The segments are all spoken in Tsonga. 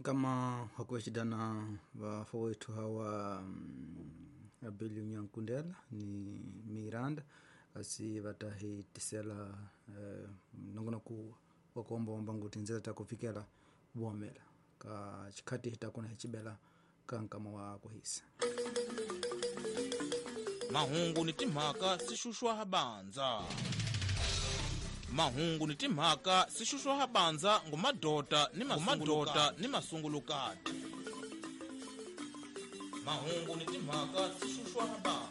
Nkama wakuexidana vafowethu hawa Abilio Nyankundela ni Miranda kasi vatahitisela nongonoko wa kuombaomba nguti nzela ta kufikela vuomela ka xikhati hi ta kona hi cibela ka nkama wa kuhisa. Mahungu ni timhaka swi xuxwa ha bandza. Mahungu ni timhaka swi xuxwa ha bandza ngumadota ni mamadota ni masungulukati. Mahungu ni timhaka swi xuxwa ha bandza.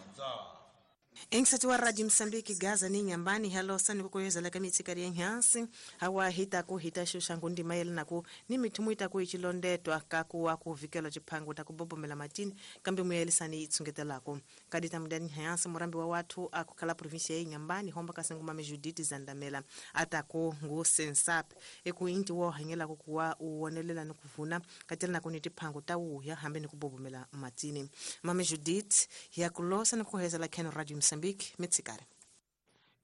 Engisati wa Radio Msambiki Gaza ni Nyambani halosa ni kukoyezela ka mitsikari ya nhansi hawa hita ku hita xuxa ngundima yelanaku ni mithumu itaku ichilondetwa kakuwa kuvikela chiphangu takubobomela matini kambe muyelisani itsungetelako kadita mudani nhansi murambi wa watu akukhala provincia ya Nyambani homba kasenguma Judith Zandamela atako ngu sensap eku inti wo hanyela kuwa uonelela ni kuvuna katela na kuniti phangu tawuya hambe ni kubobomela matini. Mame Judith yakulosa ni kuhezela ken Radio Mozambique mitsikare.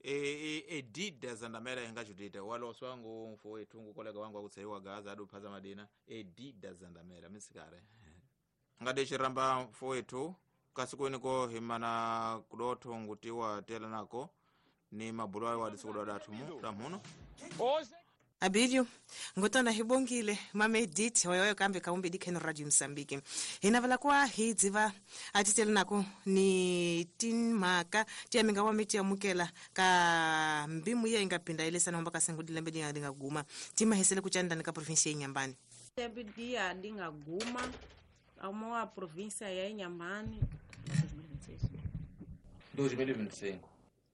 Edida Zandamela inga Judith waloswa ngu mfowethu ngu kolega wangu akutseiwa Gaza aduphaza madina Edida Zandamela mitsikare. Ngade chiramba mfowethu kasiku ko himana kudotho ngutiwa tela nako ni mabulwa wa disikudoda thumu tamuno. Abilio ngotona hibongile mame Edith hoyo kambe kaumbe dikhen Radio Mozambique hinavala kwa hidziva atitele nako ni tinmaka tiaminga wa miti amukela ka mbimu ye ingapinda ile sana homba kasengu lembe dinga dinga guma tima hesele kuchanda ka province ya Inhambane lembe dia dinga guma amoa província ya Inhambane 2025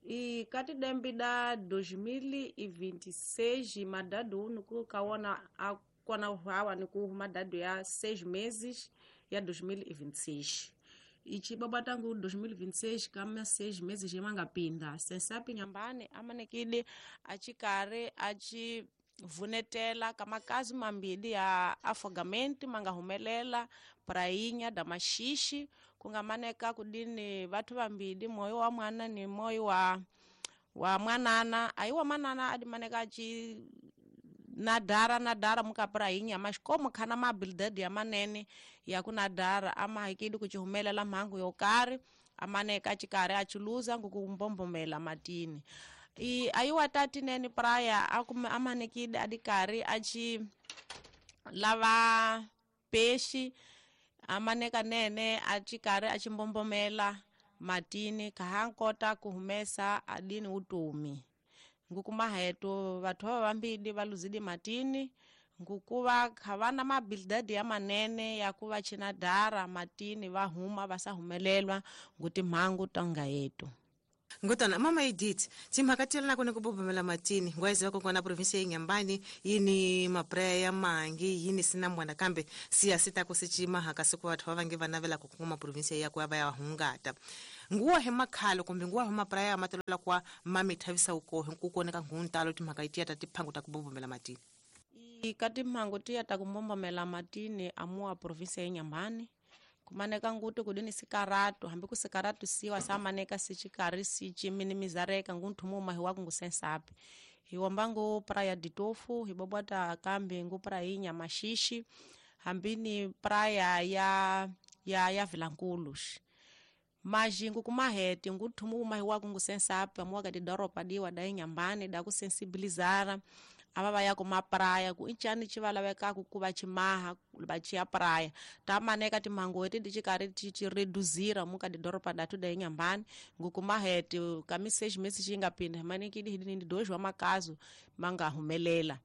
E kati dembe da 2026 madado nuku kaona akona hawa nuku madado ya 6 meses ya 2026. Ichi baba tangu 2026 kama 6 meses yemangapinda. Sensapi Inhambane amanekile achikare achi vunetela kama kazi mambili ya afogamento mangahumelela prainha da maxixe kungamaneka kudini vatu vambili moyo wa mwana ni moyo wa mwanana ayi wa mwanana adimaneka achi nadara muka prainha mas como khana ma habilidade ya manene ya kunadara ama ikidi kuchihumelela mhangu yokari amaneka achikari achiluza ngukumbombomela matini. I ayiwa tati neni praia amanekide adikari achi lava peixe amaneka nene achikari achimbombomela matini kahankota kuhumesa adini utomi ngukumaheto vathu vambili valuzidi matini ngukuva khavana mabilidadi ya manene ya kuva chinadara matini vahuma vasahumelelwa nguti mhangu tanga yetu. Ngotana mama Edith timhaka tela kone kubobomela matini ngwaizi wako kona province ya Inhambane yini mapreya ya mangi yini sina mwana kambe siya sita kusichima hakasiku watu wavange vanavela kukuma province ya kwa ya hungata nguwa hemakhalo kumbe nguwa hemapreya matelela kwa mami thavisa uko nkukoneka nguntalo timhaka itia tatiphangu takubobomela matini. Ikati mhangu tia takubombomela matini amua province ya Inhambane kumaneka nguti kudini sikaratu hambi kusikaratu siwa samaneka sichikari sichi minimizareka ngunthumu mahi waku ngusensapi hiwamba ngu praia de Tofu hibobwata kambi ngu prainha maxixe hambini praia ya Vilanculos majingu kumahete nguthumu mahi waku ngusensapi amuwa kati doropa diwa da Inhambane da kusensibilizara ava va ya kuma praia ku inchani chivalaveka ku kuva chimaha va chiya praia tamaneka timhangu leti ti chikari ti chi reduzira muka didoropa datu da Inhambane ngukumahete kami 6 meses xi nga pinda manekidi hidini dois wa makazo manga humelela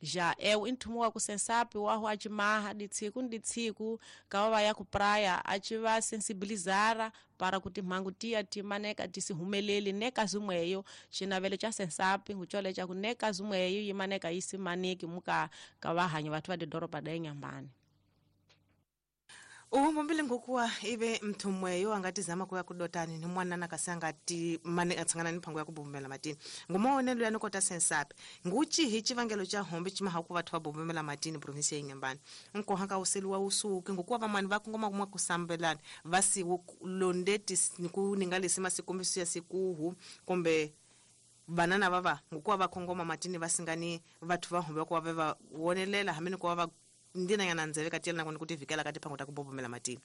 ja eu inthumu wa kusensapi waho achimaha ditsiku nditsiku kava va ya ku praia achiva sensibilizara para kuti mhangu tiya timaneka tisihumeleli neka zimweyo chinavelo cha sensapi nguchole cha kuneka zimweyo yimaneka isimaneki muka kavahanyi vathu va didoropa da Inhambane. Uhombile ngokuwa ive mthumweyo angatizama kuya kudotani ni mwanana kasangati mane atsangana ni phango ya kubombela matini ngumaonelo ya nokota sensapi nguchi hi chivangelo cha hombe chimaha ku vathu va bombela matini province ya Inhambane nkohaka useliwa usuke ngokuwa vamani va kongoma kumwa kusambelana vasi londeti niku ningalisi masikombiso ya sikuhu kumbe banana vava ngokuwa va kongoma matini vasingani vathu va hombe ku va va wonelela hamene ku va ndina ya nanzeve katiyela nako nikuti vikela kati phango takubobomela matini.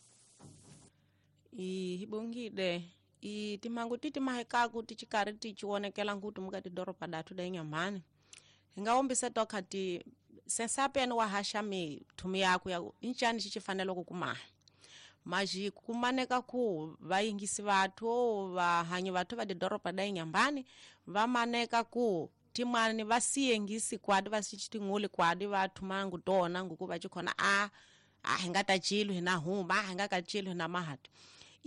I hibongile i timhangu ti timahekaku ti xikarhi ti cionekela ngutu mukati doroba datu da Inhambane hi nga wombisa toka ti sensapeni wa haxa mithumi yaku ya incani xi xifanele ku kumaha maji kumaneka ku vayingisi vathu vahanyi vathu va didoroba da Inhambane va maneka ku timani va siyengisi kwadi va sichitinguli kwadi va thumangu tona nguku va chikhona a hi nga ta chilo hi na huma hi nga ka chilo hi na mahati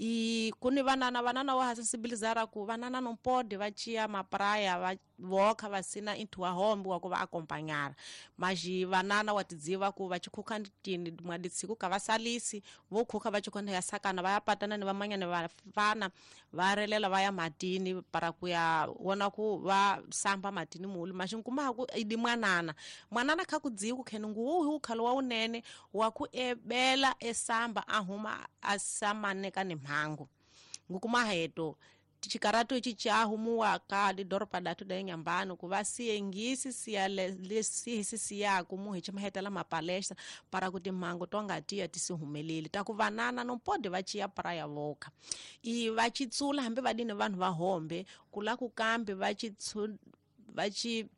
i kuni vanana wa sensibilizara ku vanana no pode va chia mapraya va voka va sina into wa hombe wa ku va akompanyara maji vanana wa tidziva ku va chikhuka tini mwaditsiko ka va salisi vo khuka va chikhona ya sakana va ya patana ni vamanyana va fana va relela va ya matini para ku ya wona ku va samba matini mulu maji nkuma ku idi mwanana mwanana kha kudziku kheni nguwu hu khalo wa unene wa ku ebela esamba ahuma asamaneka ni mhangu ngukuma heto tichikaratu ichi chahumuwa ka didoropa datu da Inhambane ku va siyengisi siya lesisi siya ku muhi chimahetela mapalestra para kuti mhangu tonga tiya tisihumeleli ta ku vanana no pode va chiya praya voka i va chitsula hambi va dini vanhu va hombe kula ku kambe va chi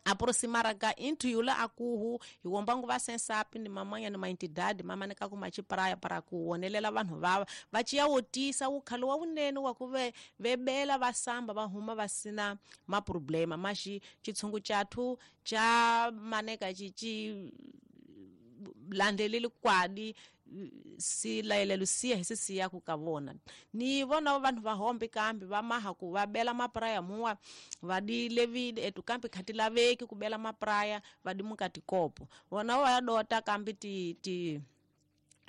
aproximara ka into yula akuhu hiwombangu va sensapi ni mamanya ni maentidade mamaneka ku machipraya para ku wonelela vanhu vava va chiya wotisa wukhalo wa wunene wa ku vebela va samba va huma va sina maproblema maxi chitshungu chathu cha maneka chichi landeleli kwadi si layelelo siya hi sisiya ku ka vona ni vona vanhu va hombe kambe va maha ku va bela mapraya muwa va di levile etu kambe khati laveki ku bela mapraya va di mukati kopo vona va dota kambe ti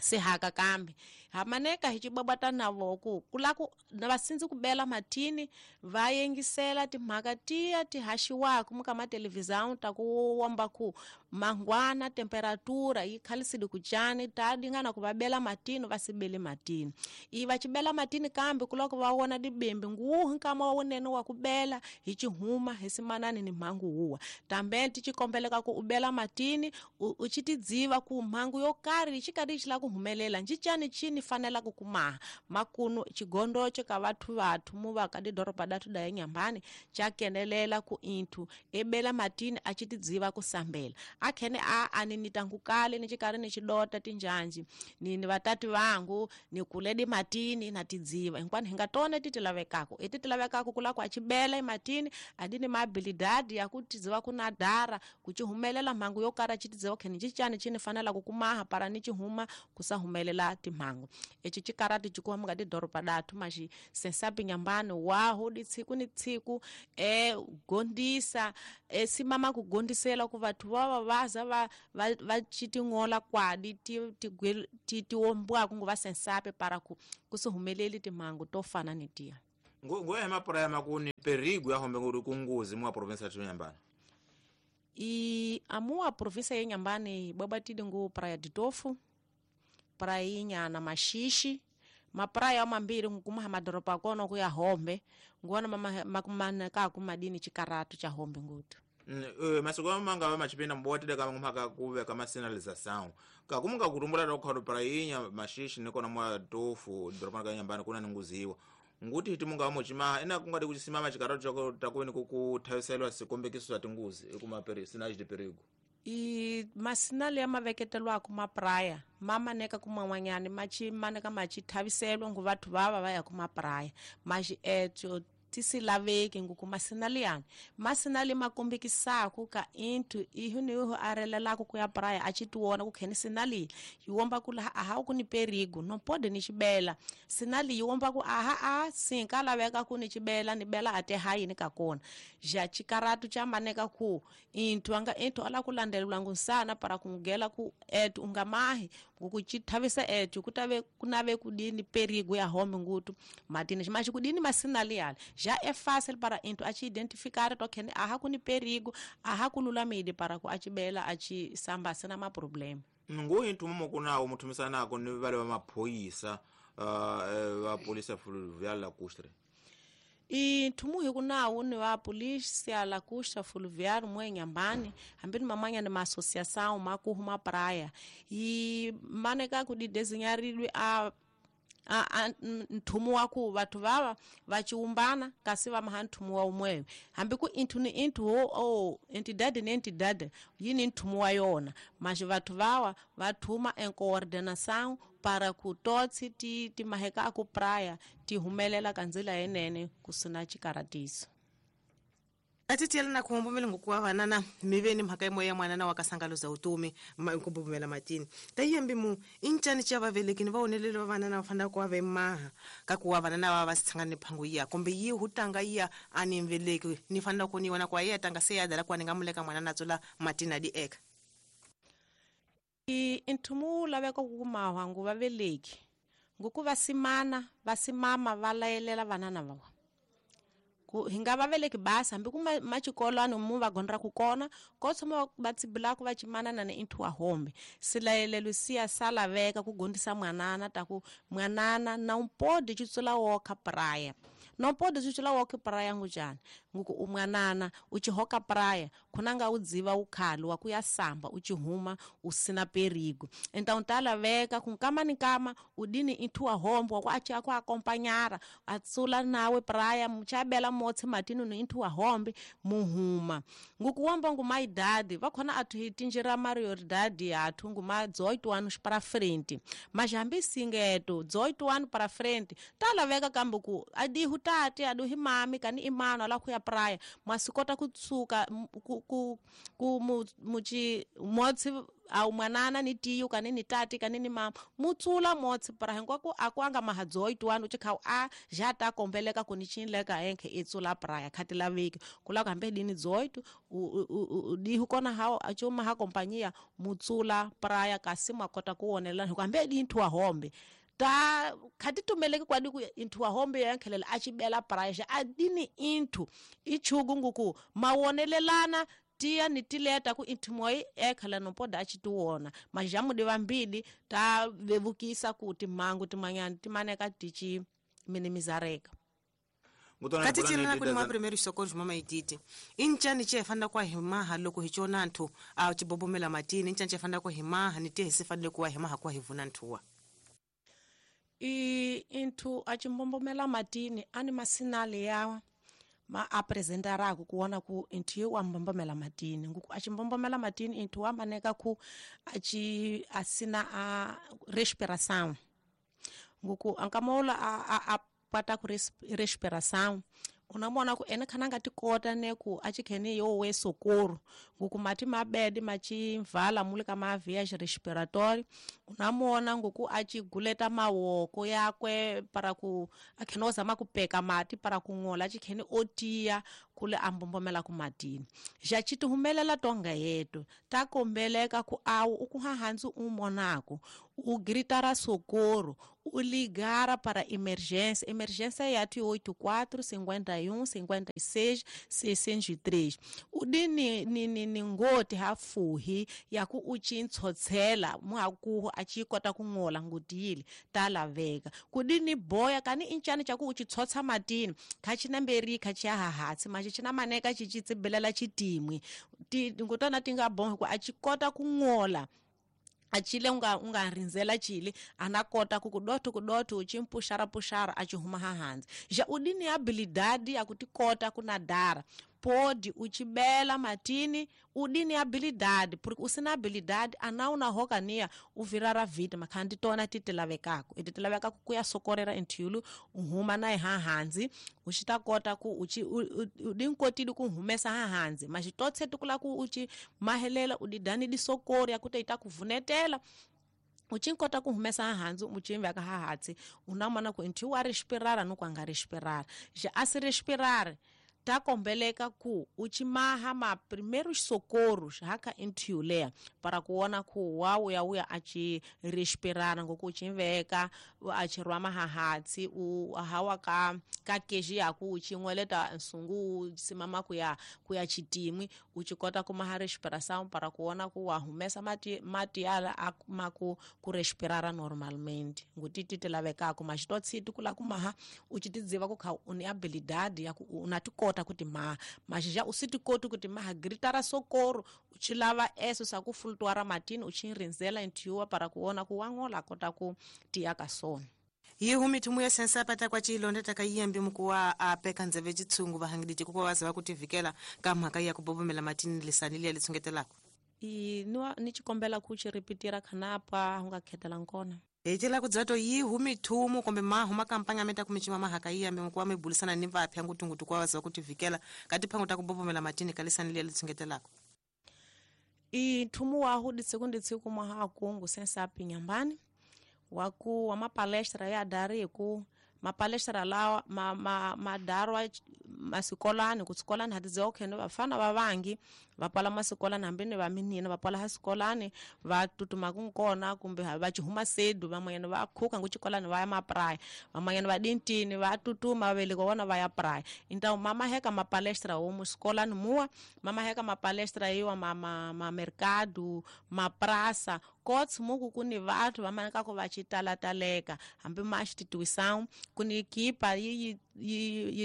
sihaka kambe hamaneka hi chibabata navo ku kula ku na vasindzi ku bela matini va yengisela timhaka tiya ti haxiwaku muka ma televisão ta ku womba ku mangwana temperatura yi khalisile ku chani ta dingana ku va bela matini va sibele matini i va chibela matini kambe ku loko va wona dibembe nguwu nkama wa wunene wa ku bela hi chihuma hi simanani ni mhangu huwa tambe ti chikombeleka ku u bela matini u chitidziva ku mhangu yo karhi xikari xi la ku humelela ncicani chini fanela ku kumaha makunu chigondocho ka vathu muva ka didoroba datu da Inhambane cha kenelela ku inthu ebela matini a chitidziva ku sambela akhene a aninita ngukale ni chikari ni chidota tinjanji ni vatati vangu ni kuledi matini na tidziva hinkwani hi nga tona titilavekako etitilavekako kula ku achibela ematini adini maabilidadi ya ku tidziva ku nadara ku chihumelela mhangu yo kara chitidziva khene chichani chini fanela ku kumaha para ni chihuma kusahumelela timhangu echi chikarati chikuwa muka didoroba datu maxi sensapi Inhambane waho ditsiku ni tsiku gondisa simama ku gondisela ku vathu va vaza va chitingola kwadi ti wombwaku ngo va sensape para ku kusihumeleli timhangu to fana ni tiya ngoya mapraya makuni perigo ya hombe nguri kunguzi mwa province ya Inhambane i amua province ya Inhambane babatide ngu praia de Tofu prainha na maxixe mapraia mambiri ngukuma madoropa kono kuya hombe nguona makumaneka kumadini chikaratu cha hombe ngutu masiku manga va machipinda mbotile ka mhaka ku veka masinalização ka kumunga kutumbula ta kukhalo prainha maxixe nikona mwa Tofu doropa ka Inhambane kuna ninguziwa nguti hiti munga wamuchima ina kungati kuchisimama chikaratu chako takuweni kukuthawiselwa sikombekiso swa tinguzi ekuma sinage de perigo i masinale ya maveketelwako mapraya mamaneka kuman'wanyani machimaneka machithaviselwa ngu vathu vava va ya kumapraya maxi etso tisilaveki nguku masinale yani masinale makombekisako ka inthu ihu ni ihu arelelako ku ya praya a chitiwona ku kheni sinali yi womba ku laha aha ku ni perigo no pode ni xibela sinali yi womba ku aha a sinka laveka ku ni xibela ni bela ate hayini ka kona ja chikaratu cha maneka ku inthu anga inthu ala ku landelelwa ngunsana para ku ngela ku etu unga mahi nguku chithavisa etu kutave kunave kudini perigo ya home ngutu matini maxi kudini masinali yale já é fácil para into a te identificar to khene aha ku ni perigo aha ku lulamile para ku achibela achi samba sina ma problema ngu into mumo kunawo muthumisanako ni vale va maphoyisa va polisa fluvial lacustre I nthumu hi ku nawu ni wa polícia la costa fluvial mo Inhambane hambi ni mamanya ni ma associação ma ku huma praia yi maneka ku di desenharilwe a nthumu wa ku vathu vava va chiumbana kasi va maha nthumu wa umwewe hambi ku inthu ni inthu o entidade ni entidade yini nthumu wa yona mas vathu vawa va thuma em coordenação para ku totsi ti maheka aku praia ti humelela ka ndzila yenene ku sina chikaratiso. Atitiyela na kuhombomela ngokuwa vanana miveni mhaka imoya ya mwanana wa kasangalo za utumi nkumbomela matini tayembi mu incani cha vavelekini va onelele va vanana va fanele ku va vemaha ka ku wa vanana va va sitshangani ni phangu iya kumbe yi hutanga iya a ni mveleki ni fanele ku ni wona ku ya tanga se ya dala ku ni nga muleka mwanana tsula matini a di eka. I nthumu laveka ku mahwangu va veleki ngoku va simana va simama va layelela vanana va ku hinga va veleki basa hambi ku machikolano mu va gondra ku kona ko tshama va tsibula ku va chimana na inthu wa hombe silayelelo siya sala veka ku gondisa mwanana ta ku mwanana na umpodi chitsula woka praia no podi chitsula woka praia ngujani nguku umwanana uchihoka praia khonanga udziva ukhalo wa kuya samba uchihuma usina perigo então tala veka kunkama ni kama udini inthu wa hombe wa acha kwa acompanhar atsula nawe praia muchabela motse matini no inthu wa hombe muhuma ngukuwomba nguma idade vakhona athu hitinjira mario idade athu nguma 18 anos para frente mas hambi singeto 18 anos para frente tala veka kambe ku adihu tate aduhi mami kani imano ala kuya praia mwasikota kutsuka ku muchi motse au mwanana ni tiyo kani ni tati kani ni mama mutsula motse para hinkwako akwanga maha 18 anos chikhau a já ta kombeleka ku ni chinleka enkhe itsula praia khati laveki kula kambe dini 18 dihu kona hao achuma ha kompanyia mutsula praia kasi makota kuonela hikwambe dinthu wa hombe ta khati tumeleke kwadi ku inthu wa hombe yankhelela achibela praia xa adini inthu ichugu nguku mawonelelana tiya ni tileta ku inthu moyi ekhala nopoda achitiwona majamu di vambili ta vevukisa kuti mhangu timanyani timaneka tichi minimizareka. Katitiyela ku ni ma primero socorro mama iditi incani che fanele ku himaha loko hi chona nthu a chibobomela matini incani che fanele ku himaha ni tihe se fanele ku himaha ku hi vuna nthuwa. I inthu a chimbombomela matini ani masinale yawa ma apresentarako kuona ku inthu wa mbombomela matini nguku achimbombomela matini inthu wa maneka ku achi asina a respiração nguku ankamola a pata ku respiração unamona ku ene khana ngati kota ne ku achikhene yo we socorro nguku mati mabedi machimvala mule ka mavias respiratório unamona nguku achiguleta mawoko yakwe para ku akhene ozama kupeka mati para kung'ola achikhene otiya kule ambombomela ku matini já chitihumelela tonga yetu takombeleka ku awu ukuhahanzi umonako ugritara socorro uligara para emergência emergência yathu 84 51 56 603 udini ni ngoti hafuhi yaku uchintshotsela mwakuhu achikota kung'ola ngutiyile talaveka kudini boya kani inchani chaku uchitsotsa matini khachinamberi khachiyahahatsi machi chinamaneka chichitsibelela chitimwi ngutona tinga bonke ku achikota kung'ola achile unga rinzela chile anakota kukudoto kudoto uchimpushara pushara achihuma hahanzi ja udini habilidade yakutikota kunadara pode uchibela matini udini habilidade porque usina habilidade anauna hokania uvirara vita makhandi tona titilavekako ititilavekako kuya sokorera inthilu uhuma naye hahanzi uchitakota ku uchi udinkotidi kuhumesa hahanzi machitotse tukula ku uchi mahelela udidani disokori yakuti itakuvunetela uchinkota kuhumesa hahanzi uchimveka hahatsi unamona ku inthilu wa respirara nuku anga respirara ja asi respirare Takombeleka ku uchimaha ma primeiros socorros haka intiulea para kuona ku wauya uya achi respirara ngoku uchimveka achirwa mahahatsi u hawa ka keji yaku uchingweleta nsungu simama kuya chitimwi uchikota kumaha respiração para kuona ku wahumesa mati yala maku kurespirara normalmente ngutiti tilavekako maxitotsiti kula kumaha uchitidziva ku kha une habilidade ya ku unatikota kuti maha maxija usitikoti kuti maha gritara socorro uchilava eso sa ku flutuara matini uchirinzela intiwa para kuona ku wangola kota ku tiya ka sona. Yihu mithumu ya sensapa takwa chilonda takayiyambi mukuwa apeka ndzeve chitsungu vahangiditi kuko waziva kutivikela ka mhaka ya kubobomela matini lisani liya litsungetelako. Ni chikombela ku chiripitira khanapa unga khetela nkona. Hetela kudzato yihu mithumu kumbe mahu makampanya meta kumichima mahaka iyambi mukuwa mibulisana ni vapya ngutungutu kwa waziva kutivikela kati phangu takubobomela matini kalisani liya litsungetelako. Ithumu wahu ditsiku nditsiku mwaha akungu sensapi nyambani waku wa mapalestra ya dari ku mapalestra lawa madarwa masikolani kutsikolani hatidziwa khene vafana vavangi vapala masikolani hambi ni vaminina vapala hasikolani va tutuma kunkona kumbe va chihuma sedu vamanyana va khuka nguchikolani va ya mapraya vamanyana va dintini va tutuma vaveleko vona va ya praya então mamaheka mapalestra womu sikolani muwa mamaheka mapalestra yiwa ma mercado maprasa kotsi muku kuni vathu vamanekako va chitalataleka hambi ma xitituwisão kuni kipa yi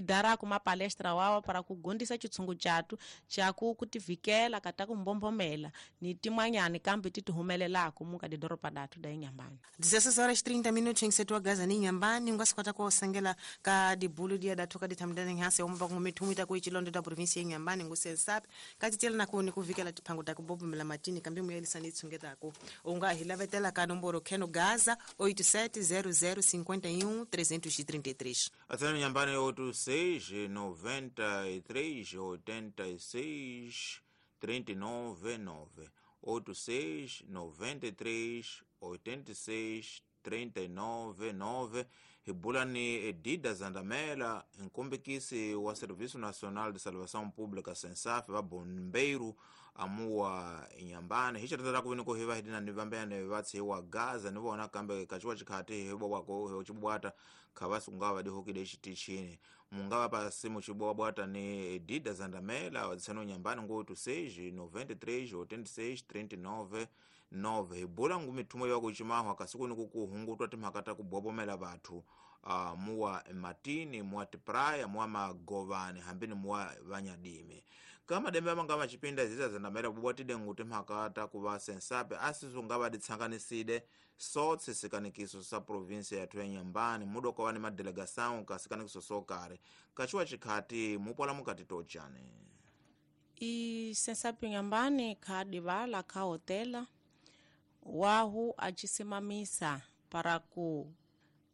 darako mapalestra wawa para kugondisa chitsungu chatu chaku kutivikela kata kumbombomela ni timwanyani kambe titihumelelako muka didoropa datu da Inhambane. 16 horas 30 minutos em setor gaza ni Inhambane ungasikota kwa osengela ka dibulu dia datu ka dithamdane nhase omba kumithumita ku ichilondo da província Inhambane ngusensapi katitela nakuni kuvikela tiphango ta kubobomela matini kambe muyelisani itsungetako unga hilavetela ka nomboro kheno gaza 870051 333. Atsana Inhambane 86 93 86 39 9 86 93 86 39 9. Hibula ni Edida Zandamela, nkumbikisi wa Serviço Nacional de Salvação Pública SENSAF va bombeiro amuwa Inhambane. Hichatatata kuviniko hiva hidina ni vambene vatsiwa Gaza ni vona kambe kachiwa chikhati hibobwako hochibwata khavasi kungava dihokide chitichini mungava pasimu chibwabwata ni Edida Zandamela wadzisano Inhambane ngo 86 93 86 39 9. Hibula ngumithumo yakuchimahwa kasiku nikukuhungutwa timhaka ta kubobomela vathu muwa matini muwa tipraya muwa magovani hambini muwa vanyadimi kama dembe amanga machipinda ziza Zandamela bubwatide nguti mhaka ta kuva sensape asisunga ditsanganiside sotse sikanikiso sa província yathu ya Inhambane mudokowa ni madelegação ka sikanikiso sokare kachiwa chikhati mupwala mukati tochane. I sensape Inhambane khadivala kha hotela wahu achisimamisa para ku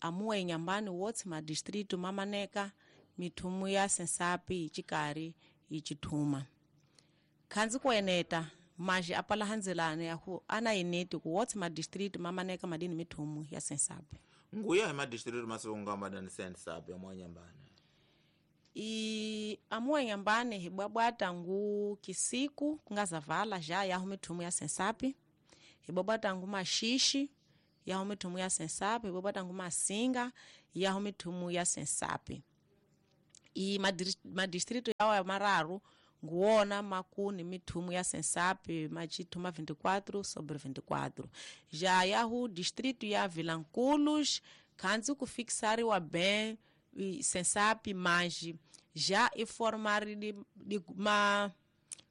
amuwa Inhambane wotse madistrito mamaneka mithumu ya sensapi ichikari ichithuma khanzi kueneta maji apala hanzelane yaku ana ineti ku wotse madistrito mamaneka madini mithumu ya sensapi. Nguya hi madistrito masunga madani sensapi ya Inhambane. I amuwa Inhambane hibwabwata ngu kisiku kungazavala já yahu mithumu ya sensapi hibwabwata ngu maxixe yahu mithumu ya sensapi hibwabwata ngu masinga yahu mithumu ya sensapi. I madistrito yawa mararu nguwona makuni mithumu ya sensapi machithuma 24 sobre 24. Já yahu distrito ya Vilanculos khanzi kufixariwa bem sensapi manji já iformari di ma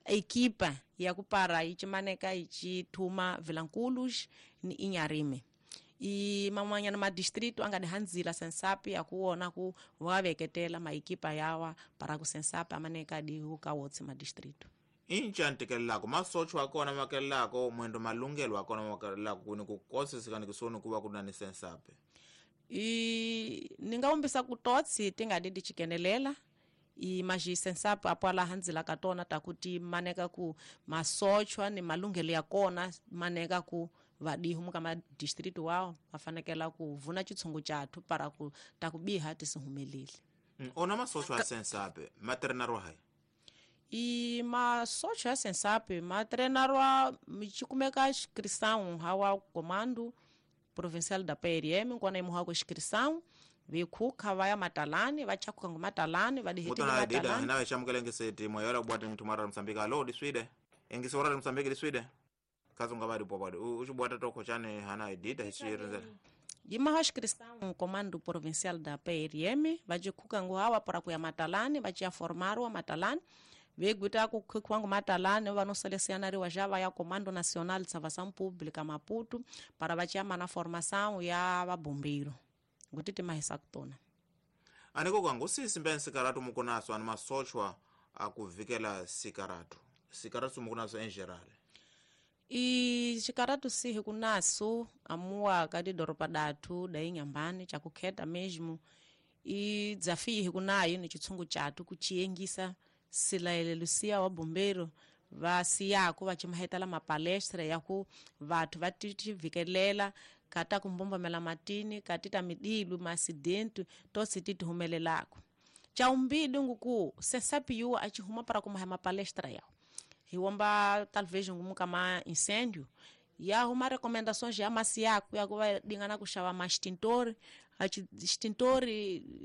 equipa ya kupara ichimaneka ichithuma Vilanculos ni Inharime. I mamanyana madistrito anga dihanzila sensapi ya kuona ku waveketela maikipa yawa para ku sensapi amaneka dihuka wotse madistrito. Incha ntikelelako masocho akona makelelako mwendo malungelo akona makelelako kuni kukosesikanikisoni kuva kunani sensapi. I ningaumbisa kutotsi tingadidi chikenelela i maji sensapi apo ala hanzila katona takuti maneka ku masochwa ni malungelo yakona maneka ku vadihu muka madistrito wao vafanekela ku vuna chitsungu chathu para ku takubiha tisihumelile. Ona masocho a sensape matrenarwa hai i masocho ya sensape matrenarwa michikumeka inscrição hawa comando provincial da PRM nkona imuhako inscrição vikukha vaya matalani vachakhuka ngo matalani vadihitana matalani nawe chamukelengeseti moyola kubwata mtumara Msambiki alo diswide engisi ora Msambiki diswide kazunga vari popado uchibwata toko chane hana edita hichirinzela yimaho inscrição comando provincial da PRM vachikhuka ngo hawa para kuya matalani vachiya formarwa matalani veguita kukhukhiwa ngo matalani vanoselesionariwa já vaya comando nacional de salvação pública Maputo para vachiya mana formação ya vabombeiro nguti timahisa kutona aniko kwangu sisimbe sikaratu mukunaso ani masochwa akuvikela sikaratu sikaratu mukunaso em geral i xikaratu sihi kunaso amuwa ka tidoropa datu da Inhambane chakukheta mesmo i dzafihi kunayo ni chitsungu chatu kuchiyengisa silaelelo siya wa bombeiro vasiyako vachimahetela mapalestra yaku vathu va tivikelela kata kumbombomela matini katita midilu maacidente tosi titihumelelako chaumbidi nguku sensapiyuwa achihuma para kumaha mapalestra yawo hiwomba talvez ngumuka ma incêndio yahuma recomendações ya masiako yakuva dingana kuxava ma extintor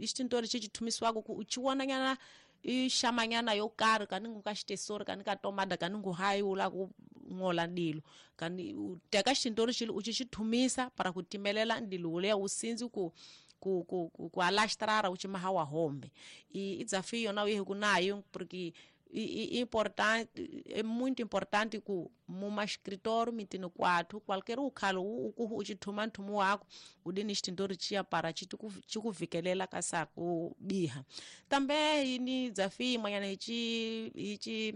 extintor chichithumisiwako ku uchiwonanyana ixamanyana yo karhi kaningu ka xitesori kani ka tomada kaningu hayi wu la ku ng'ola ndilo kani u teka xintori xili u xi thumisa para ku timelela ndilo wuliya wu sindzi ku ku ku ku, ku alastrara u chimaha wa hombe i desafio na uyehi kunayo porque importante é muito importante ku muma escritório mitino kwathu qualquer ukhalo ukuhu uchithuma nthumu wako udini extintor chia para chikuvikelela ka ku biha também ini desafio imwanyana hichi hichi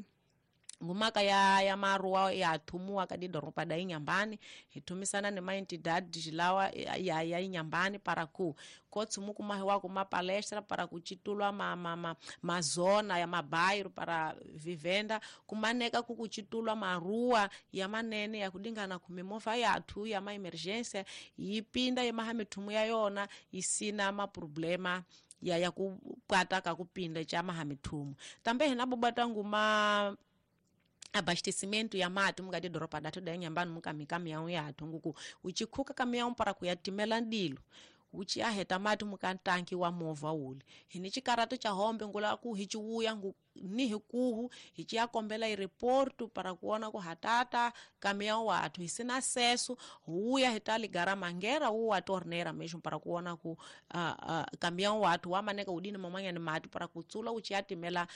ngumaka ya maruwa ya thumuwa ka didoropa da Inhambane hithumisana ni maentidades lawa ya Inhambane para ku kotsumu kumahiwa kuma palestra para kuchitulwa mazona ya mabairo para vivenda kumaneka kukuchitulwa maruwa ya manene ya kudingana kumimova yathu ya maemergência yipinda yemaha mithumu ya yona isina maproblema ya kupwata kakupinda cha maha mithumu tambe hina bobata nguma abastecimento ya mati mukati doropa datu da Inhambane mukamikamiyawu yathu nguku uchikhuka kamiyawu para kuyatimela ndilo uchiaheta mati mukantanki wa movha uli hini chikarato cha hombe ngula ku hichiwuya ni hikuhu hichiyakombela ireportu para kuona ku hatata kamiyawu wathu hisina acesso huya hitaligara mangera uwa torneira mesmo para kuona ku kamiyawu wathu wamaneka udini mamwanyani mati para kutsula uchiyatimela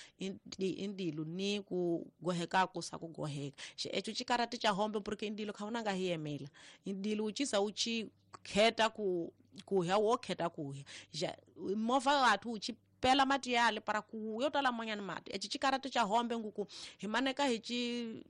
indilu ni kugoheka kusa kugoheka echo chikarati cha hombe porque indilo khaunanga hiyemela indilo uchisa uchikheta ku kuhya wo kheta kuhya ja movha wathu uchipela mati yale para kuyo tala mwanyani mati echi chikarati cha hombe nguku himaneka hichi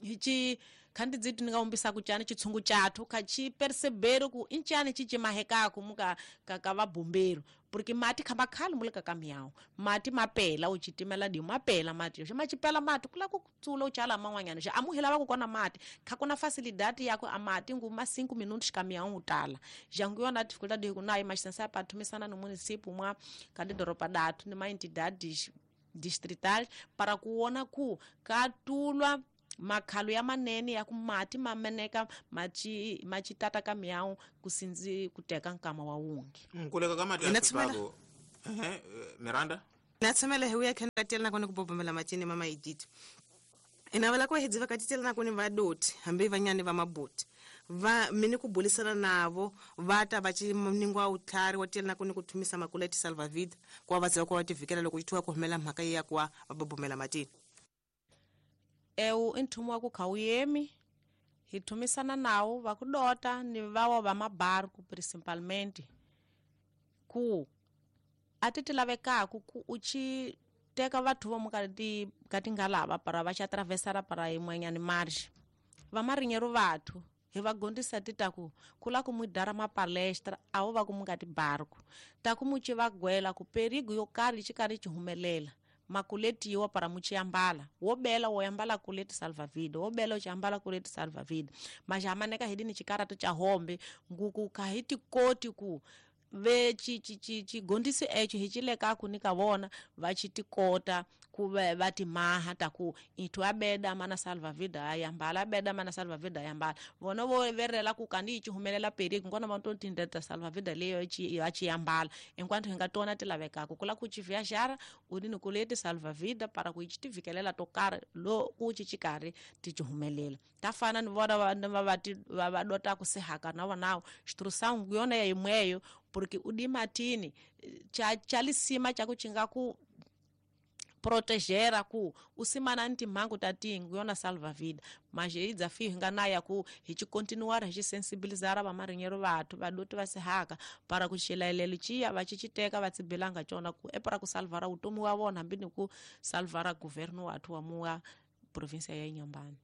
hichi khandi dzitu ningaumbisa kuchani chitsungu chathu khachi percebero ku inchani chichimahekako muka ka vabombero porque mati khamba khali mulika kamiyawu mati mapela uchitimela dio mapela mati xa machipela mati kula kutsula uchala man'wanyana xa amuhila va ku kona mati kha kuna facilidade yako amati nguma 5 minutos kamiyawu utala jangu yona dificuldade hi kunayo maxisensa pathumisana no município mwa ka didoropa datu ni maentidades distritais para kuona ku katulwa makhalo ya manene ya kumati mameneka machi machitata kamiyawu kusinzi kuteka nkama wa wungi nkuleka kamati Inatsumela. Miranda natshemela hi uya khena katiyela nakone ku bobomela matini mama Edith inavela ku hedziva katitela nakone vadoti hambi vanyani va mabuti va mini ku bulisana navo va ta va ciningwa utlhari wa tiyela nakone ku thumisa makuleti salvavida ku va va ziva ku va tivikela loko yi ku humela mhaka ya ku va bobomela matini ewu i nthumu wa ku kha wu yemi hi thumisana nawo va ku dota ni vawa va mabarku principalmente ku a ti ti lavekaku ku u chi teka vathu vomu ka ti ka tingalava para va xa atravesara para yin'wanyani marge va marinyeru vathu hi va gondisa ti ta ku ku la ku mu dara mapalestra a wo va ku mu nga tibarku ta ku mu ci va gwela ku perigo yo karhi xi karhi xi humelela makuleti yiwa para muchiyambala wo bela wo yambala kuleti salvavida wo bela uchiyambala kuleti salvavida majamaneka hidini chikarato cha hombe nguku kahiti koti ku Ve xigondisi exo hi ci lekaku ni ka vona va ci tikota ku va timaha ta ku ithu abeda mana salva-vida ayambala, abeda mana salva-vida ayambala. Vona vo verela ku kandi yi ci humelela perigo nkona va to tindeta salva-vida leyo va ci yambala enquanto hi nga tona ti lavekaka ku la ku ci viajara u ni ku leti salva-vida para ku yi ci ti vikelela to karhi lo ku ci ci karhi ti ci humelela. Ta fana ni vona va va dotaku sehaka na vonawo instrução yona ya imweyo, porque o dimatini cha lisima cha kuchinga ku protegera ku usimana ni timhangu ta tingu yona salva-vida. Mas hi desafio hi nga na ya ku hi ci continuar hi ci sensibilizara vamarinheiro vathu vadoti va sehaka para ku xilaelelo ciya va ci citeka va tsibelanga cona ku e para ku salvara vutomi wa vona hambi ni ku salvara governo wathu wa muwa província ya Inhambane.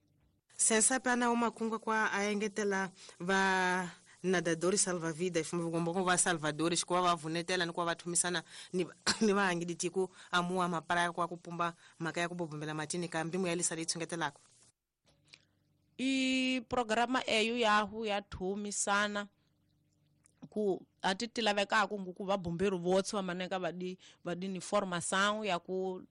Sensape ana umakunga kwa aengetela va nadadores salva-vidas, ngombo va salvadores kwa va vunetela ni kwa va thumisana ni va hangiditi ku amuwa maparaya kwa kupumba mhaka ya ku bobombela matini ka mbimu ya lisa leyi tshungetelaka. I programa eyo yahu ya thumisana ku ati ti lavekaka ku va bombeiro votse va maneka va di ni formação ya ku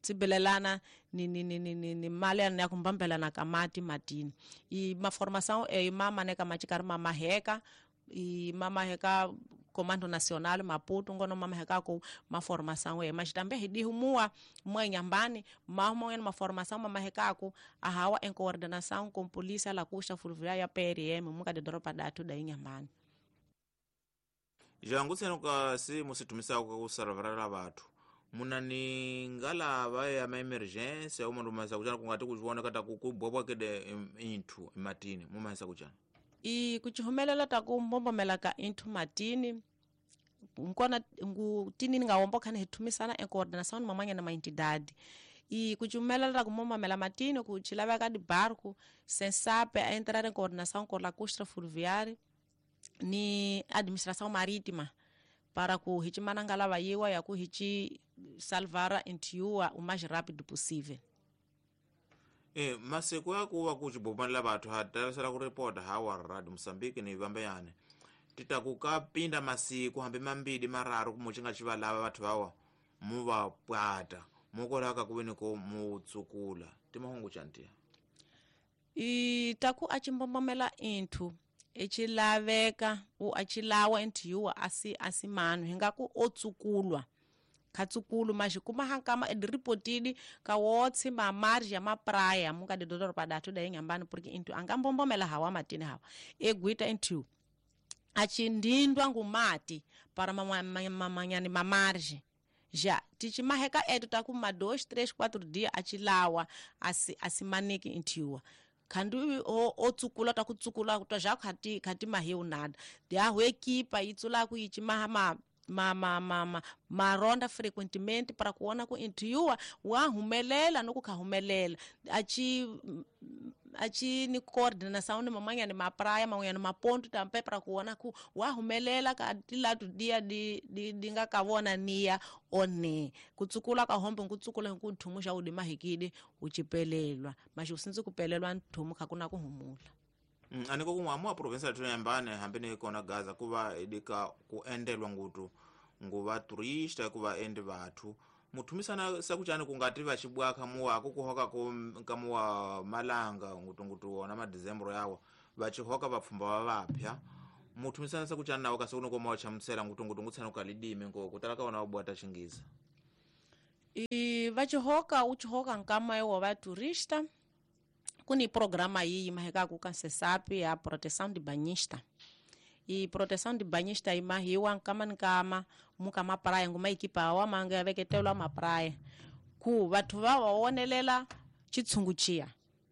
tsibelelana ni mali ya ku mbambelana ka mati matini. I maformação e mamaneka machikarhi mamaheka i mamaheka Comando Nacional Maputo ngono mamaheka ku maformação e mas também hi dihumua mwa Inhambane mahumwa maformação mamaheka ku ahawa em coordenação com polícia la Costa Fluvial ya PRM muka de doropa datu da Inhambane. Jangu tseno ka si musitumisa ku salvarela bathu muna ni ngalava ya ma-emergency uma ndumasa kuchana kungati kuchiona kata kubwabwa kede inthu ematini mumahisa kuchana. I kuchihumelela ta ku mbombomela ka inthu matini nkona ngu tini nga wombo khane hithumisana em coordenação mamanya na maentidade. I kuchihumelela ta ku mbombomela matini ku chilaveka di barco sensape a entrar em coordenação com la costa fluvial ni administração marítima para ku hichimana ngalava yiwa ya ku hichi salvara intiua o mais rápido possível. Masiku ya kuva kuchibomanela vathu hatarisela ku ripota hawa Radio Mozambique ni vambayani titaku ka pinda masiku hambi mambili mararu kumuchinga chivalava vathu vawa muva pwata mukolaka kuveni ko mutsukula timahungu chantia. I taku achimbomomela inthu echilaveka u achilawa inthiwa asi manu hingaku otsukulwa khatsukulu mas kuma hankama ediripotidi ka wotsi ma margem ya mapraia muka de doropa datu da Inhambane porque inthu angambombomela hawa matini hawa eguita inthu achindindwa ngumati para mamanyani ma margem já tichimaheka etu takuma 2 3 4 dias achilawa asimaniki inthiwa khandu o tsukula ta kutsukula kutwa ja khati khati mahiu nada dia ho equipa itsula ku ichimaha ma maronda frequentemente para kuona ku intiwa wa humelela no ku khahumelela achi ni coordenação ni mamanya ni mapraia mamanya ni maponto tampe para kuona ku wa humelela ka tilatu dia di dinga ka vona niya one kutsukula ka hombe kutsukula ku nthumu xa udi mahikide uchipelelwa mas usintsi kupelelwa nthumu kha kuna ku humula. Aniko kumwa province ya Inhambane hambi ni kona Gaza kuva edika ku endelwa ngutu nguva turista kuva ende vathu muthumisana sakuchani kungati vachibwaka muwa kukuhoka kamuwa malanga ngutungutu wona madezembro yawo vachihoka vapfumba va vapya muthumisana sakuchani nawo kasi kuno komawa chamusela ngutungutu ngutsana ukalidime ngo kutala kaona wabwata chingiza. I vachihoka uchihoka nkama iwo va turista kuni programa iyi maheka ku kansesapi ya proteção de banhista. E proteção de banhista imahiwa nkama nkama muka mapraia nguma ekipa wa manga veketelwa mapraia ku vathu va wonelela chitshungu chiya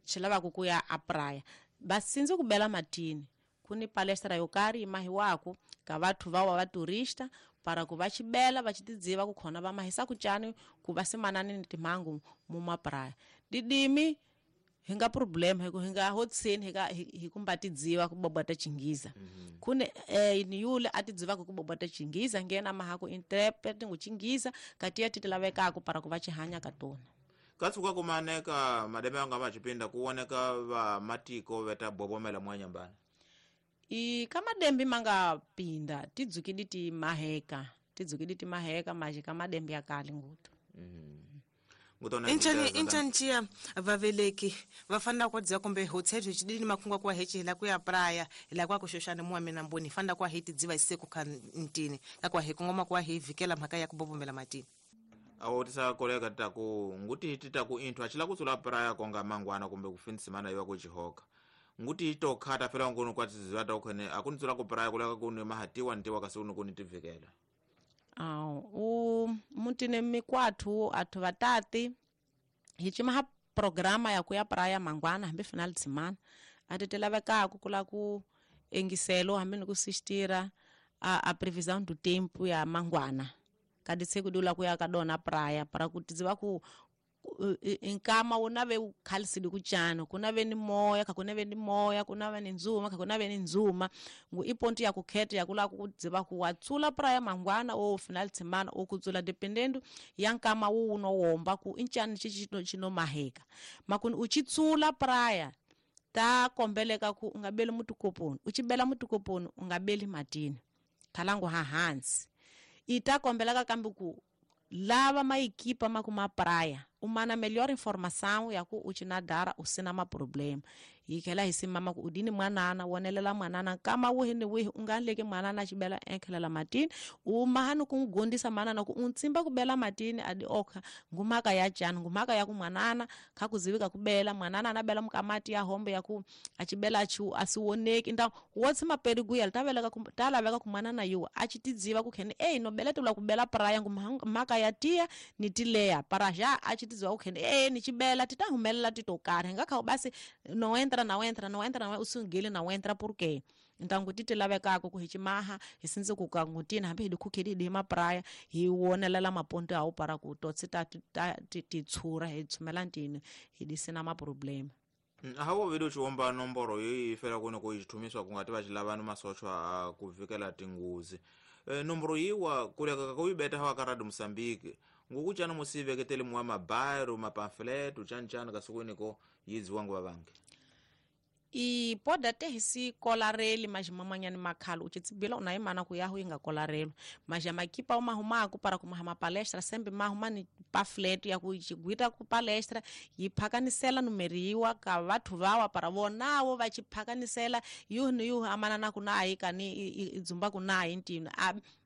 chilava ku kuya a praia basinzi kubela matini kuni palestra yo karhi imahiwaku ka vathu va wa turista para ku va chibela va chitidziva ku khona va mahisa kuchani ku va simanani ni timhangu mu mapraia didimi hinga problem hiku hinga hotsini hika hikumba tidziva kubobota chingiza. Kune ni yule atidziva kubobota chingiza ngena mahako interpret nguchingiza kati atilavekako para kuva chihanya katona. Katsuka kumaneka mademe anga machipinda kuoneka va matiko veta bobomela mwanyambana. I kamadembi manga pinda tidzukidi ti maheka tidzukidi ti maheka maji kamadembi ya kale ngutu. Inchani vaveleki vafana kwa dzia kumbe hoteli chidini makunga kwa hechi hila kuya praya hila kwa kushoshana muwa minamboni fanda kwa hiti dziva isiku kantini kwa hekungoma kwa hivikela mhaka ya kubobombela matini. Awo tisa koleka taku nguti titaku inthu achila kutsula praya konga mangwana kumbe kufinsimana iwa kuchihoka nguti itokhata fela ngono kwa tiziwa takhene akunitsula ku praya kuleka kuni mahatiwa ntiwa kasi kuni tivikela. U mutine mikwathu athu vatati hichimaha programa ya kuya praya mangwana hambi final tsimana ati tilavekaku kula ku engiselo hambi ni kusistira a previsão do tempo ya mangwana kadi tsekudula kuya kadona praya para kuti dziva ku nkama unave ukhalisidi kuchano kunave ni moya kakunave ni moya kunave ni nzuma kakunave ni nzuma ngu iponti ya kukheta ya kula kudziva kuwatsula praya mangwana o final tsimana o kutsula dependendo ya nkama wu unowomba ku inchani chichino chino maheka makuni uchitsula praya ta kombeleka ku ungabeli mutukoponi uchibela mutukoponi ungabeli matini khalangu ha hansi ita kombeleka kambi ku lava maikipa makuma praia umana melhor informação ya ku uchinadara usina ma problema yikhela hisimama ku udini mwanana wonelela mwanana kama wihi ni wihi unganleki mwanana chibela enkhelela matini umahani kungondisa manana ku untsimba kubela matini adi okha ngumaka ya jani ngumaka ya ku mwanana khakuzivika kubela mwanana anabela mukamati ya hombe ya ku achibela achu asiwoneki nda wotsi maperiguya taveleka talaveka ku mwanana yuwa achitidziva kukhene ei nobeletela kubela praya ngumaka ya tia ni tileya para já achitidziva kukhene ei nichibela titahumelela titokari ngakha basi no entra na entra no entra na usungile na entra porque então kuti lavekako ku hichimaha hisinze kukangutina hambi hi khukhedi di mapraya hi wonelela maponto awu para ku totsi ta titshura hi tshumela ntini hi disina ma problema. Hawo video chiomba nomboro yi fela kuno ku chithumiswa kungati vachilavano masochwa a kuvikela tinguzi nomboro yiwa kuleka kuibeta hawa ka Radio Mozambique ngukuchana musiveketele mwa mabairo mapamphlet uchanchana kasukuniko yidziwa nguva vange I poda te hisi kolareli majimamanyani makhalo uchitsibila unaimana kuyahu inga kolarelo majamakipa umahumaku para kumahama palestra sembe mahumani pamphlet ya kuchigwita ku palestra yiphakanisela numeriwa ka vathu vawa para vonawo vachiphakanisela yuhu ni yuhu amanana kunayi kani idzumba kunayi ntino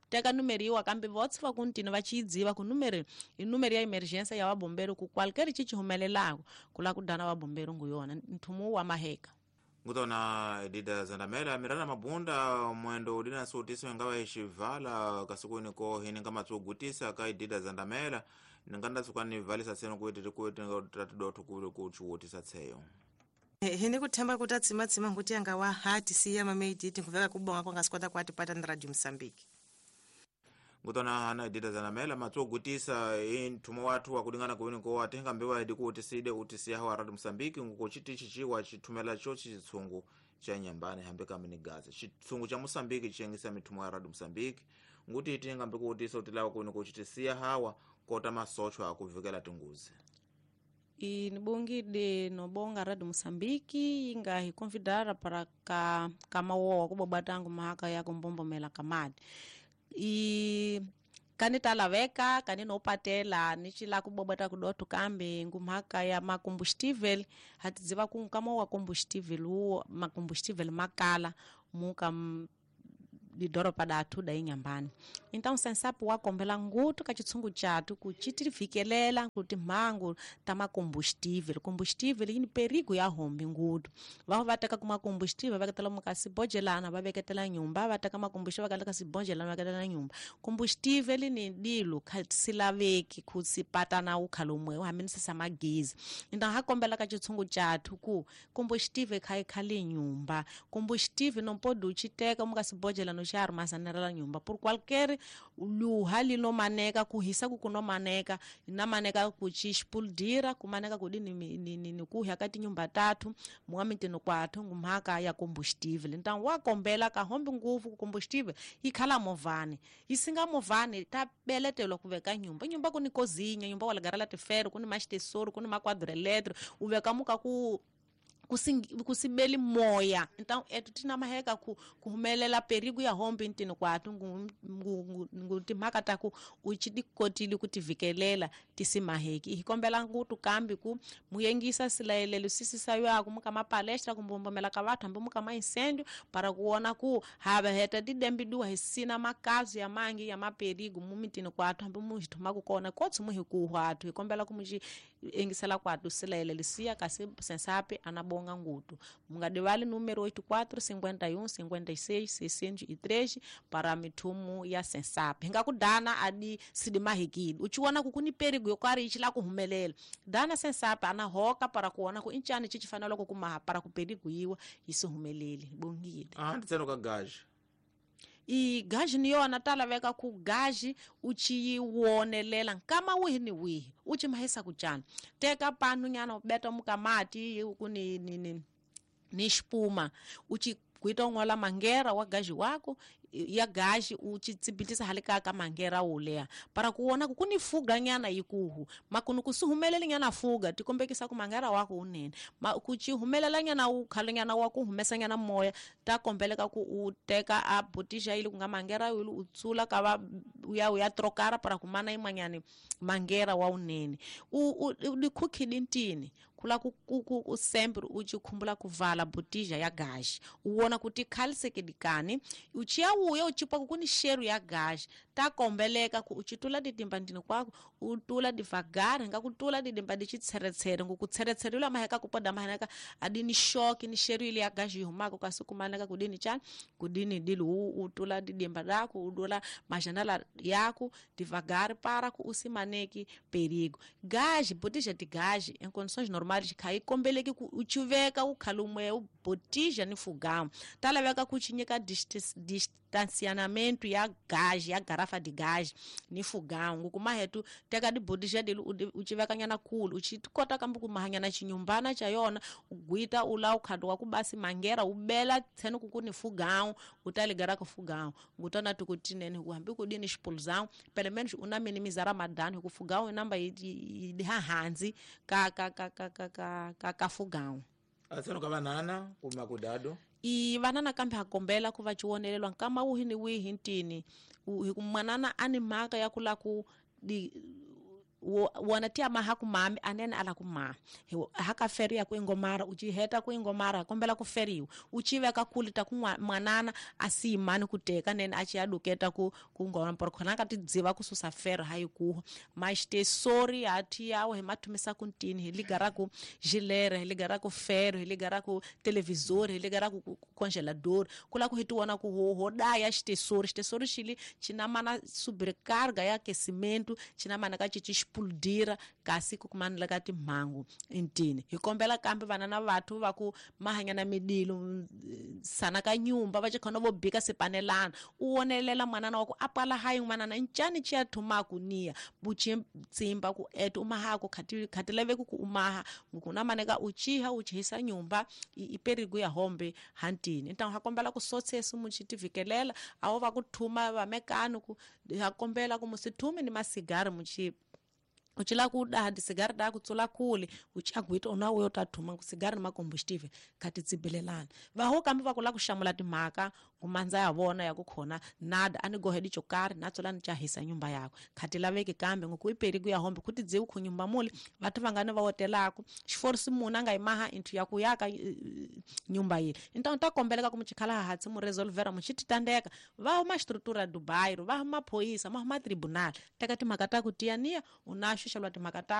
teka numeriwa kambe votsi va kuntini va chidziva ku numeri i numeri ya emergency ya vabomberi ku qualquer chichihumelelako kula ku dana vabomberi ngu yona nthumu wa maheka. Ngutona Edida Zandamela mirana mabunda mwendo udina suutiso ingawa ishivala kasuku ko hininga matsugutisa ka Edida Zandamela ninganda sukani valisa tseno kuiti kuiti tatudotu kuchuutisa tseyo. Hini kuthemba kuti atsima nguti anga wa hati siya mameiditi nkuveka kubonga kwanga sikwata kwati pata na Radio Mozambique. Ngutona hana Edida Zandamela matsugutisa inthumo wathu wakulingana kuwiniko atenga mbewa edi kuutiside utisiya hawa Radio Mozambique ngukuchiti chichiwa chithumela cho chitsungu cha nyambani hambe kamini Gaza chitsungu cha Mozambique chiyengisa mithumo ya Radio Mozambique nguti itenga mbikuutisa utilawa kuwiniko chitisiya hawa kota masochwa akuvikela tinguzi. Inibongide nobonga Radio Mozambique inga hiconvidara para ka kamawowa kubobatangu mahaka ya kumbombomela kamadi i kani talaveka kani nopatela nichila kubobata kudotu kambe ngumhaka ya macombustível hatidziva ku kama wa combustível uwo macombustível makala muka didoropa datu da inyambani então sensapo wakombela ngutu ka chitsungu chatu kuchitivikelela kuti mhangu ta macombustível combustível yini perigo ya hombi ngutu vaho vateka kuma combustível vaketela mukasibojelana va veketela nyumba va teka macombustível vakala kasibonjelana vaketela nyumba combustível ni dilu khasilaveki kusipatana ukhalomwe uhamenisisa magezi então hakombela ka chitsungu chatu ku combustível khaikhali nyumba combustível não pode uchiteka mukasibojela no xaruma armazenarela nyumba por qualquer luha linomaneka kuhisa kukunomaneka namaneka kuchixpulidira kumaneka kudini ni kuhya ka tinyumba tatu muamitini kwathu ngumhaka ya combustível então wakombela kahombi nguvu ku combustível ikhala movhani isinga movhani ta beletelwa ku veka nyumba nyumba ku ni kozinha nyumba wa lagarela tifero ku ni maxitesoro ku ni makwadro eletro u veka muka ku Kusibeli moya então etu tina maheka kuhumelela perigo ya hombe ntini kwatu timhaka ta ku uchidikotile kutivikelela tisimaheki hikombela ngutu kambi ku muyengisa silayelelo sisisaywako muka mapalestra kumbombomela ka vathu hambi muka maincêndio para kuona ku hava heta didembiduwa hisina makazu ya mangi ya maperigo mumitini kwatu hambi muhithuma kona kotsi muhikuhwa athu hikombela ku muci engisela kwatu silayelelo siya kasi sensape anabonga ngutu mungadivali número 84 51 56 603 para mithumu ya sensape hingakudana adi sidimahikile uchiona kukuni perigo yokwari ichila kuhumelela dana sensape anahoka para kuona ku inchani chichifanela kukumaha para kuperigo yiwa isihumelele bongile nditseno ka gaji I gaji ni yona talaveka ku gaji uchiyiwonelela nkama wihi ni wihi uchimahisa kuchana teka panu nyana ubeta mukamati ku ni xipuma uchi kuita un'wala mangera wa gaji wako ya gaji uchitsibitisa hali ka mangera uleya para kuona ku kuni fuga nyana yikuhu makunu kusihumeleli nyana fuga tikombekisa ku mangera wako unene kuchihumelela nyana ukhalo nyana wa ku humesa nyana moya ta kombeleka ku uteka a botija ili kunga mangera ili utsula ka va uya trokara para kumana imwanyani mangera wa unene udikhukhidi ntini kula ku sempre uchikhumbula kuvala botija ya gaji uwona kuti khalisekedikani uchiyawuya uchipa kukuni sheru ya gaji takombeleka ku uchitula didimba ndini kwako utula divagari ngakutula didimba dichitseretsere ngukutseretsere yula maheka kupoda maheneka adini shoki ni sheru ili ya gaji ihumako kasi kumaneka kudini chani kudini dili utula didimba dako udula majanela yako divagari para ku usimaneki perigo gaji botija di gaji em condições normais khayikombeleki ku uchiveka ukhalumwe ubotija ni fugamu talaveka kuchinyika distanciamento ya gaji ya garrafa de gás ni fogão ngukumahetu teka dibotija dele uchiveka nyana kulu uchikota kambi kumahanyana chinyumbana cha yona ugwita ula ukhadu wa kubasi mangera ubela tseno kukuni fogão utaligara ku fogão ngutona tukutinene kuhambi kudini expulsão pelo menos una minimizar madano ku fogão inamba idihahanzi ka ka ka ka ka ka ka ka fogão atseno ka vanana kuma kudado I vanana kambe hakombela ku va chiwonelelwa nkama wihi ni wihi ntini hi mwanana ani mhaka ya ku la ku wona ti amaha ku mami anene ala ku ma haka feri ya ku ingomara uchiheta ku ingomara kombela ku feriwa uchiveka kuli ta ku mwanana asiyimani ku teka nene achiyaduketa ku ngoma por khona ka tidziva ku susa feri hayi kuho maxitesori hathi yawo hi mathumisa ku ntini hi ligara ku gilere hi ligara ku fero hi ligara ku televisor hi ligara ku congelador kula ku hi tiwona ku ho daya xitesori xitesori xili xinamana sobrecarga ya aquecimento xinamana ka cici explodira kasi kukumanela ka timhangu ntini hi kombela kambe vana na vathu va ku mahanyana midilo sana ka nyumba va chikhona vo bika sipanelana u wonelela mwanana wa ku apala hayi n'wanana ncani chiya thumaku niya buchi tsimba ku etu umahaku khati laveki ku umaha ngukuna maneka uchiha uchihisa nyumba iperigo ya hombe hantini então ha kombela ku sotsesu muchitivikelela awo va ku thuma va mekano ku ha kombela ku musithume ni masigari muchi uchila kuda disigari da kutsula kule uchagwita una uyo tathuma kusigari ni makombustive khati tsibelelana vaho kambe va kula ku xamula timhaka ngumandza ya vona ya ku khona nada ani gohe dichokari natsula ni chahisa nyumba yako khati laveki kambe ngoku iperiku ya hombe kuti dziwu khu nyumba mule vathu vangani va wotelako xiforisi munhu a nga yimaha inthu ya ku yaka nyumba yile então ta kombeleka ku muchikhala hatsi mu resolvera muchititandeka va huma xistrutura Dubai va huma phoyisa ma huma tribunal teka timhaka ta ku tiyaniya unaxo xalwa timhaka ta